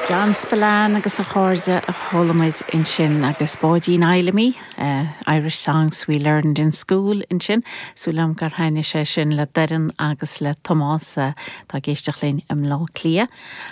John Spillane agus a chairde a chuala muid ansin agus Báidín Fheidhlimí, Irish Songs We Learned in School ansin. Súil agam gur thaitnigh sé sin le Doireann agus le Tomás atá ag éisteacht linn i mBleá Cliath.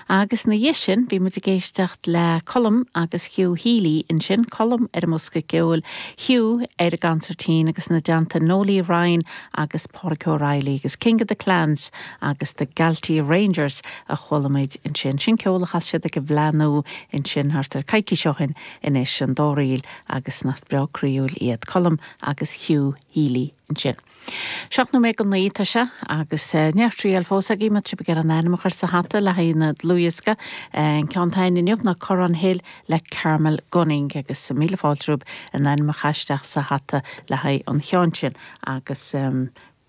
Agus ina dhiaidh sin bhí muid ag éisteacht le Colm agus Hugh Healy ansin, Colm ar an mbosca ceoil, Hugh ar an gconsairtín agus ina dteannta Noelie Ryan agus Pádraic O'Reilly agus King of the Clans agus The Galtee Rangers a chuala muid ansin. Sin ceol a chas siad ag an bhFleadh Nua ansin thart ar coicís ó shin anois, an dáréag agus nach breá croíúil iad Colm agus Hugh Healy ansin. 7 nóiméad go 9 atá sé agus neart triail fós agaibh má tá sibh ag iarraidh an ainm a chur sa hata le haghaidh na dlúthdhiosca. An ceann atá againn inniu ná Corrán Hill le Carmel Gunning agus míle fáilte romhaibh an ainm a chur isteach sa hata le haghaidh an cheann sin agus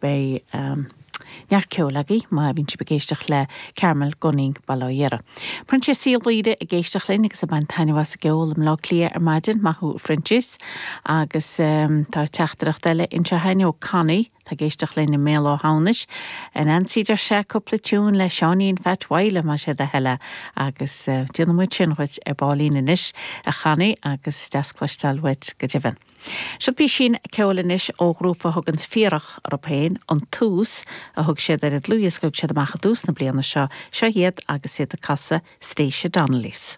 beidh neart ceoil agaibh má bhíonn sibh ag éisteacht le Carmel Gunning bail ó Dhia uirthi. Proinsias Uí Laoire ag éisteacht linn agus ag baint taitneamh as an gceol i mBleá Cliath ar maidin, maith thú a Phroinsias. Agus tá teachtaireacht eile anseo againn ó Connie, atá ag éisteacht linn i mBéal Átha hAmhnais. A Nancy deir sé cúpla tiún le Seáinín Pheait Mhaidhle más é do thoil é agus déanfaidh muid sin dhuit ar baillín anois a Chonnie agus deas cloisteáil uait go deimhin. Seo písín ceoil anois ó ghrúpa a thuganns Fíorach orthu féin, An Tús a thug siad ar an dlúthdhiosca a thug siad amach i dtús na bliana seo. Seo iad agus iad ag casadh Stacia Donnelly's.